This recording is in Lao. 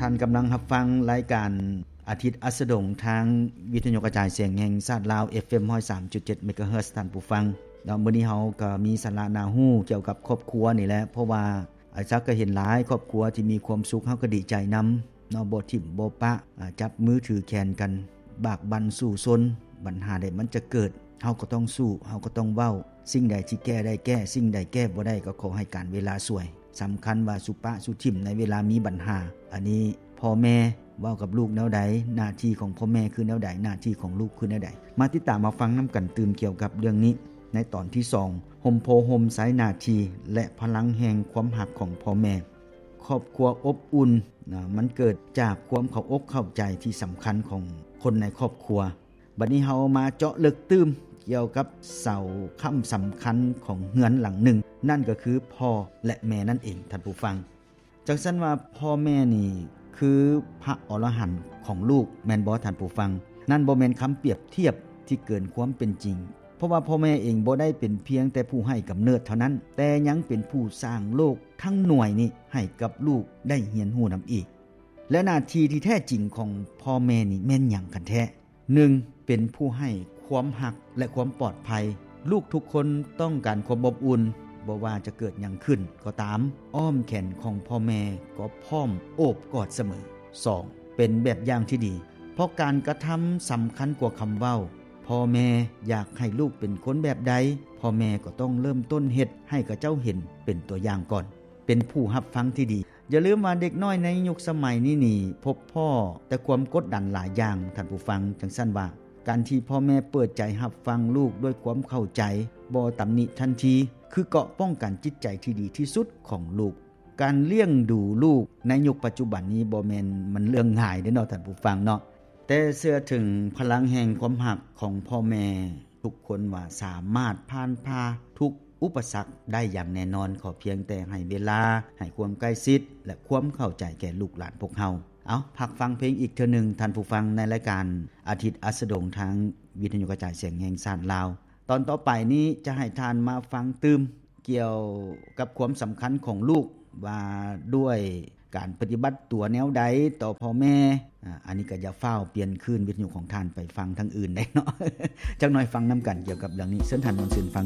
ທ່ານກຳລັງຮັບຟັງລາຍການອາທິດອັສດງ ທາງວິທະຍຸກະຈາຍສຽງແຫ່ງຊາດລາວ ເອັຟເອັມ ຮ້ອຍສາມຈຸດເຈັດ ເມກາເຮີດ ທ່ານຜູ້ຟັງເນາະ. ມື້ນີ້ເຮົາກໍມີສາລະໜ້າຮູ້ກ່ຽວກັບຄອບຄົວນີ້ແຫຼະ ເພາະວ່າ ອາ ຈັກກໍເຫັນຫຼາຍຄອບຄົວທີ່ມີຄວາມສຸກ ເຮົາກໍດີໃຈນຳເນາະ, ບໍ່ຖິ້ມບໍ່ປະ ອາ ຈັບມືຖືແຂນກັນ ບາກບັ່ນສູ້ຊົນ. ບັນຫາໃດມັນຈະເກີດ ເຮົາກໍຕ້ອງສູ້ ເຮົາກໍຕ້ອງເວົ້າ. ສິ່ງໃດທີ່ແກ້ໄດ້ແກ້ ສິ່ງໃດແກ້ບໍ່ໄດ້ກໍຂໍໃຫ້ການເວລາຊ່ວຍ. ສຳຄັນວ່າສຸປະສຸຖິ້ມໃນເວລາມີບັນຫາ. ອັນນີ້ພໍ່ແມ່ເວົ້າກັບລູກແນວໃດ? ໜ້າທີ່ຂອງພໍ່ແມ່ຄືແນວໃດ? ໜ້າທີ່ຂອງລູກຄືແນວໃດ? ມາຕິດຕາມມາຟັງນຳກັນຕື່ມກ່ຽວກັບເລື່ອງນີ້ ໃນຕອນທີສອງ ຮົ່ມໂພຮົ່ມໄຊໜ້າທີ່ ແລະ ພະລັງແຫ່ງຄວາມຮັກຂອງພໍ່ແມ່. ຄອບຄົວອົບອຸ່ນນະ ມັນເກີດຈາກຄວາມເຂົ້າອົກເຂົ້າໃຈທີ່ສຳຄັນຂອງຄົນໃນຄອບຄົວ. ບັດນີ້ເຮົາມາເຈາະເລິກຕື່ມກ່ຽວກັບເສົາຄ້ຳສຳຄັນຂອງເຮືອນຫຼັງໜຶ່ງ, ນັ້ນກໍຄືພໍ່ ແລະ ແມ່ນັ້ນເອງ ທ່ານຜູ້ຟັງ. ຈັ່ງຊັ້ນວ່າພໍ່ແມ່ນີ້ຄືພະອໍລະຫັນຂອງລູກ ແມ່ນບໍ່ທ່ານຜູ້ຟັງ? ນັ້ນບໍ່ແມ່ນຄຳປຽບທຽບທີ່ເກີນຄວາມເປັນຈິງ, ເພາະວ່າພໍ່ແມ່ເອງບໍ່ໄດ້ເປັນພຽງແຕ່ຜູ້ໃຫ້ກຳເນີດເທົ່ານັ້ນ, ແຕ່ຍັງເປັນຜູ້ສ້າງໂລກທັງໜ່ວຍນີ້ໃຫ້ກັບລູກໄດ້ຮຽນຮູ້ນຳອີກ. ແລະ ໜ້າທີ່ທີ່ແທ້ຈິງຂອງພໍ່ແມ່ນີ້ແມ່ນຫຍັງກັນແທ້? ໜຶ່ງ ເປັນຜູ້ໃຫ້ຄວາມຮັກ ແລະ ຄວາມປອດໄພ. ລູກທຸກຄົນຕ້ອງການຄວາມອົບອຸ່ນ, ບໍ່ວ່າຈະເກີດຫຍັງຂຶ້ນກໍຕາມ, ອ້ອມແຂນຂອງພໍ່ແມ່ກໍພ້ອມໂອບກອດສະເໝີ. ສອງ ເປັນແບບຢ່າງທີ່ດີ, ເພາະການກະທຳສຳຄັນກວ່າຄຳເວົ້າ. ພໍ່ແມ່ຢາກໃຫ້ລູກເປັນຄົນແບບໃດ, ພໍ່ແມ່ກໍຕ້ອງເລີ່ມຕົ້ນເຮັດໃຫ້ເຂົາເຈົ້າເຫັນເປັນຕົວຢ່າງກ່ອນ. ເປັນຜູ້ຮັບຟັງທີ່ດີ. ຢ່າລືມວ່າເດັກນ້ອຍໃນຍຸກສະໄໝນີ້ນີ້ ພົບພໍ້ແຕ່ຄວາມກົດດັນຫຼາຍຢ່າງ ທ່ານຜູ້ຟັງ. ຈັ່ງຊັ້ນວ່າ ການທີ່ພໍ່ແມ່ເປີດໃຈຮັບຟັງລູກດ້ວຍຄວາມເຂົ້າໃຈ, ບໍ່ຕຳໜິທັນທີ, ຄືເກາະປ້ອງກັນຈິດໃຈທີ່ດີທີ່ສຸດຂອງລູກ. ການລ້ຽງດູລູກໃນຍຸກປັດຈຸບັນນີ້ບໍ່ແມ່ນມັນເລື່ອງງ່າຍເດ້ເນາະ ທ່ານຜູ້ຟັງເນາະ. ແຕ່ເຊື່ອເຖິງພະລັງແຫ່ງຄວາມຮັກຂອງພໍ່ແມ່ທຸກຄົນວ່າສາມາດຜ່ານຜ່າທຸກອຸປະສັກໄດ້ຢ່າງແນ່ນອນ, ຂໍພຽງແຕ່ໃຫ້ເວລາ, ໃຫ້ຄວາມໃກ້ຊິດ ແລະ ຄວາມເຂົ້າໃຈແກ່ລູກຫຼານພວກເຮົາ. ເອົາ, ພັກຟັງເພງອີກເທື່ອໜຶ່ງ, ທ່ານຜູ້ຟັງ, ໃນລາຍການອາທິດອັສດງ ທາງວິທະຍຸກະຈາຍສຽງແຫ່ງຊາດລາວ. ຕອນຕໍ່ໄປນີ້ຈະໃຫ້ທ່ານມາຟັງຕື່ມ ກ່ຽວກັບຄວາມສຳຄັນຂອງລູກ ວ່າດ້ວຍການປະຕິບັດຕົວແນວໃດຕໍ່ພໍ່ແມ່. ອາ ອັນນີ້ກໍຢ່າຟ້າວປ່ຽນຄືນວິທະຍຸຂອງທ່ານໄປຟັງທາງອື່ນໄດ້ເນາະ. ຈັກໜ້ອຍຟັງນຳກັນກ່ຽວກັບເລື່ອງນີ້. ເຊີນທ່ານມ່ວນຊື່ນຟັງ.